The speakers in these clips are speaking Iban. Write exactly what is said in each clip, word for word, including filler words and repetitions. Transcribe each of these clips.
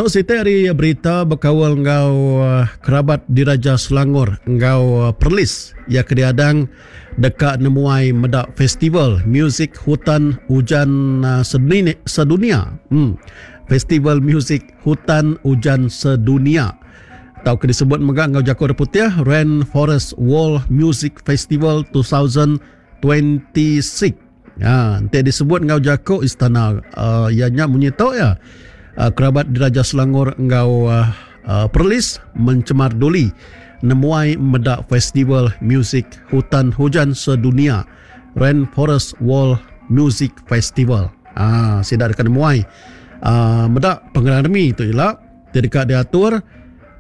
Tu siti ari berita bekaul enggau kerabat Diraja Selangor enggau Perlis iya ke diadang deka nemuai meda Festival Muzik Hutan Ujan Sedunia. Hmm. Festival Muzik Hutan Ujan Sedunia tauka disebut mega enggau jaku orang putih Rainforest World Music Festival dua ribu dua puluh enam. Ha, enti disebut enggau jaku istana uh, iya nya munyi tu ya. Uh, kerabat Diraja Selangor enggau uh, uh, Perlis mencemar duli nemuai meda Festival Muzik Hutan Hujan Sedunia Rainforest World Music Festival. Ah, sida deka nemuai uh, meda pengerami tu ila ti deka diatur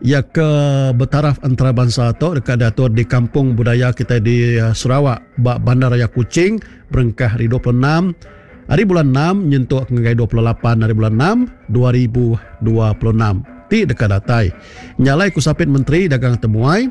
ia ke bertaraf antarabangsa tu deka diatur di Kampung Budaya kita di Sarawak ba Bandaraya Kuching berengkah hari dua puluh enam hari bulan enam nyentuk ngagai dua puluh lapan hari bulan enam dua ribu dua puluh enam ti deka datai. Nyalai ku Sapit Menteri Dagang Temuai,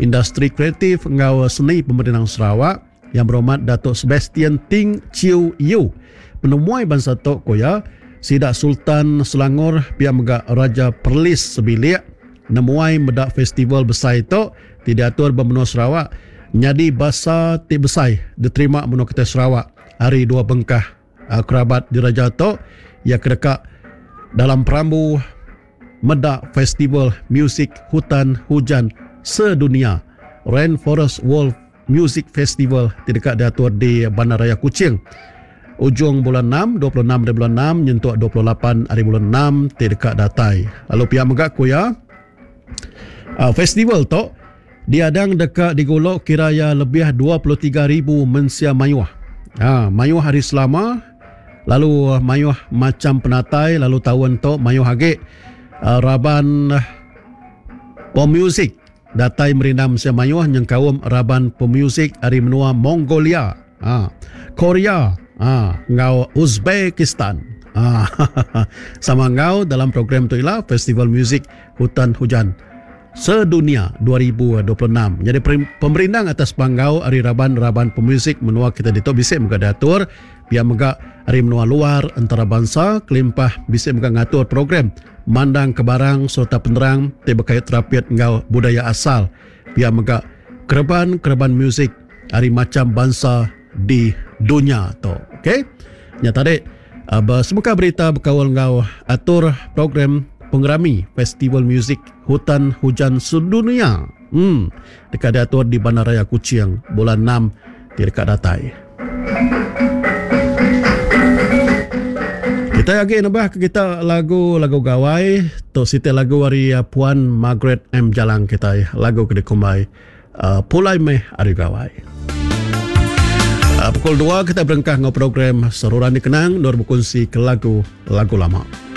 Industri Kreatif enggau Seni Pemerintah Sarawak yang berhormat Datuk Sebastian Ting Chiu Yu. Penemuai bangsa tu ku iya, sida Sultan Selangor pia mega Raja Perlis sebilik nemuai meda festival besai tu ti diatur ba menua Sarawak nyadi basa ti besai diterima menua kita Sarawak hari dua bengkah uh, kerabat diraja tu ia kedeka dalam perambu meda Festival Muzik Hutan Hujan Sedunia Rainforest World Music Festival ti deka diatur di Bandaraya Kuching ujung bulan enam, dua puluh enam hari bulan enam nyentuk dua puluh lapan hari bulan enam ti deka datai. Lalu pihak mega ku iya, Uh, festival tu diadang deka digulok kira ya lebih dua puluh tiga ribu mensia mayuh. Ha, mayuh hari selama lalu mayuh macam penatai lalu tahun tu mayuh agi uh, raban pemuzik datai merindam mensia mayuh nyengkaum raban pemuzik ari menua Mongolia, ha, Korea, ha, enggau Uzbekistan. Ha, sama enggau dalam program tu ialah Festival Muzik Hutan Hujan Sedunia dua ribu dua puluh enam. Jadi pemerindang atas panggau ari raban-raban pemuzik menua kita ditu bisik mega diatur, pia mega ari menua luar antarabangsa kelimpah bisik mega ngatur program mandang ke barang serta penerang ti berkait terapit enggau budaya asal, pia mega kereban-kereban muzik ari macam bangsa di dunia tu. Okey. Nya tadi bersemuka berita berkaul enggau atur program pengerami Festival Muzik Hutan Hujan Sedunia. Hmm, deka diatur di Bandaraya Kuching bulan enam ti deka datai. Kita lagi nambah ke kita lagu-lagu gawai. Tu siti lagu ari Puan Margaret M Jalang kita, lagu ke dikumbai uh, Pulai Meh Ari Gawai. Uh, pukul dua kita berengkah ngau program Seruran Dikenang nur berkongsi ke lagu-lagu lama.